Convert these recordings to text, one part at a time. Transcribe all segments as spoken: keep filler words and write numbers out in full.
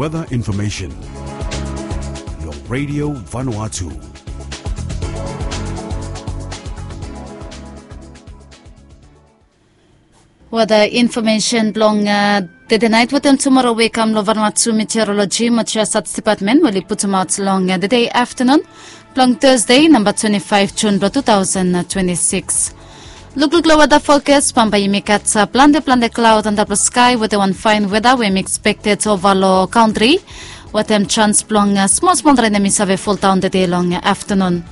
Weather information long Radio Vanuatu. Weather information blong uh, tede nait wetem tumoro we kam long Vanuatu Meteorology mo Geostats Department we oli putumaot long uh, tede afternoon blong Thursday, namba twenty-five June blong two thousand twenty-six. Lukluk long weather forecast, bambae yumi gat uh, plante plante cloud antap long sky wetem wan fine weather we yumi expected ova long country wetem chance blong uh, small small rain yumi save fall down tede long uh, afternoon.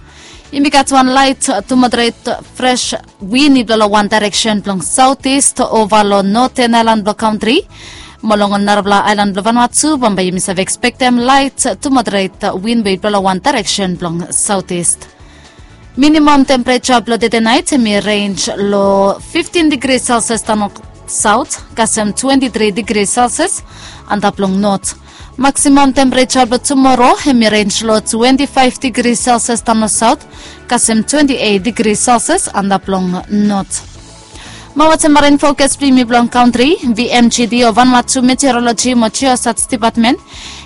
Yumi gat wan light uh, to moderate uh, fresh wind i blo long wan direction blong southeast ova long northern island blong country. Mo long ol narapela island blong Vanuatu, bambae yumi save expectem light to moderate wind we i blo long wan direction blong southeast. Minimum temperature blong tede nait hemi range long fifteen degree Celsius tano south kasem twenty-three degree Celsius antap long north. Maximum temperature blong tumoro hemi range long twenty-five degree Celsius tano south kasem twenty-eight degree Celsius antap long north. Mo wetem marin forecast blong yumi blong country, VMGD o Vanuatu Meteorology mo Geostats Department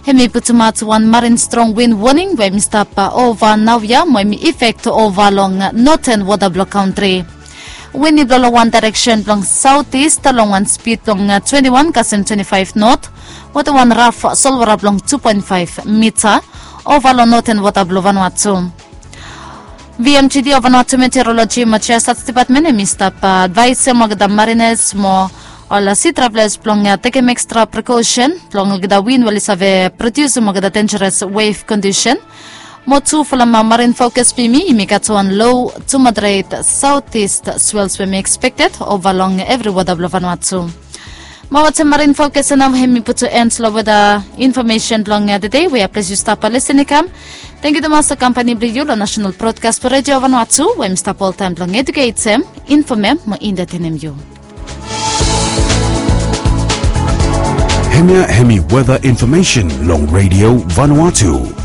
hemi putumaot wan marin strong wind warning we hemi stap ova naoia mo hemi effect ova long northern water blong country. Wind i blo long wan direction blong southeast long wan speed blong twenty-one kasem twenty-five knot wetem wan raf solwara blong two point five mita ova long northern water blong Vanuatu. VMGD o Vanuatu Meteorology mo Geostats Department hemi stap advaisem olgeta mariners mo ol sea travelers blong tekem extra precaution blong olgeta wind we oli save produsim olgeta dangerous wave condition. Mo tu folem marin forecast blong yumi, yumi gat wan low to moderate southeast swells we hemi expected ova long evri water blong Vanuatu. Mo wetem marin forecast ya nao hemi putum end long weather information blong tede we a ples yu stap lisin i kam. Tangkiu tumas long kampani blong yu long National Broadcast for Radio Vanuatu we hemi stap oltaem blong eduketem, infomem mo entertainem yu. Hemia hemi weather information long Radio Vanuatu.